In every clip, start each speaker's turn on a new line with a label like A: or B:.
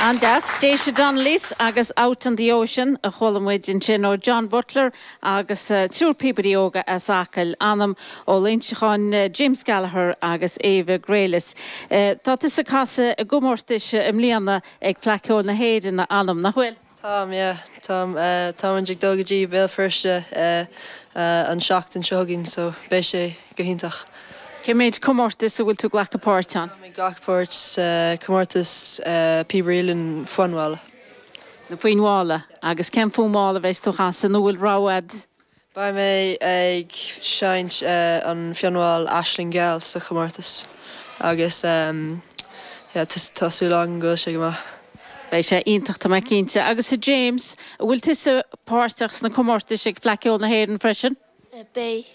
A: An-deas. Déise Donnellys agus Out on the Ocean a chuala muid ansin ó John Butler agus triúr píobairí óga as Acaill, Anam Ó Loingseacháin, James Gallagher agus Éabha Graylis. Tá tusa ag casadh i gcomórtais i mbliana ag Fleadh Cheoil na hÉireann, a Anam, nach bhfuil?
B: Táim, yeah. Táim. Táimid ag dul go dtí Béal Feirste an seachtain seo chugainn so beidh sé go hiontach.
A: Cé méid comórtas a bhfuil tú ag glacadh páirt ann?
B: Táim ag glacadh páirt sa comórtas Píobairí Uilleann Fionnghála.
A: Na Fionnghála. Agus cén fonn mall a bheas tú a chasadh nó bhfuil rogha a'd?
B: Beidh mé ag seinnt an fonn mall Aisling Gheal sa chomórtas agus yeah tá súil agam go bhfuil sé go maith.
A: Beidh sé iontach tá mé cinnte. Agus a James, an bhfuil tusa páirteach sna comórtais ag Fleadh Cheoil na hÉireann freisin?
C: Beidh.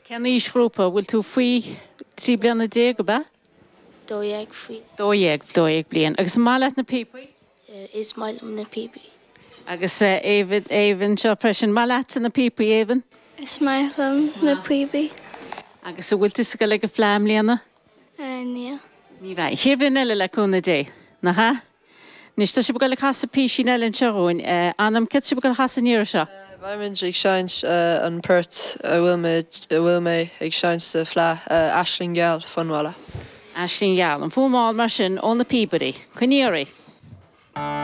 A: Cén aoisghrúpa? Bhfuil tú faoi 13 bliana, ab ea?
C: 12 faoi.
A: 12, 12 bliain. Agus an maith leat na píopaí?
C: Is maith liom na píopaí.
A: Agus Aoibhinn, Aoibhinn anseo freisin. Maith leatsa na píopaí, Aoibhinn?
D: Is maith liom na píopaí.
A: Agus an bhfuil tusa ag dul ag an Fleadh i mbliana?
D: Níl.
A: Ní bheidh. Chéad bhliain eile le cúnamh Dé. Nach ea? Anois, tá sibh ag dul ag casadh písín eile anseo dhúinn. Anam, céard tá sibh ag dul a chasadh an iarraidh seo?
B: Beimid ag seinnt an port a bhfuil mé, a bhfuil mé ag seinnt sa Fleadh, Aisling Gheal, Fonn Mhála.
A: Aisling Gheal. An fonn mall mar sin ó na píobairí. Coinnigh oraibh.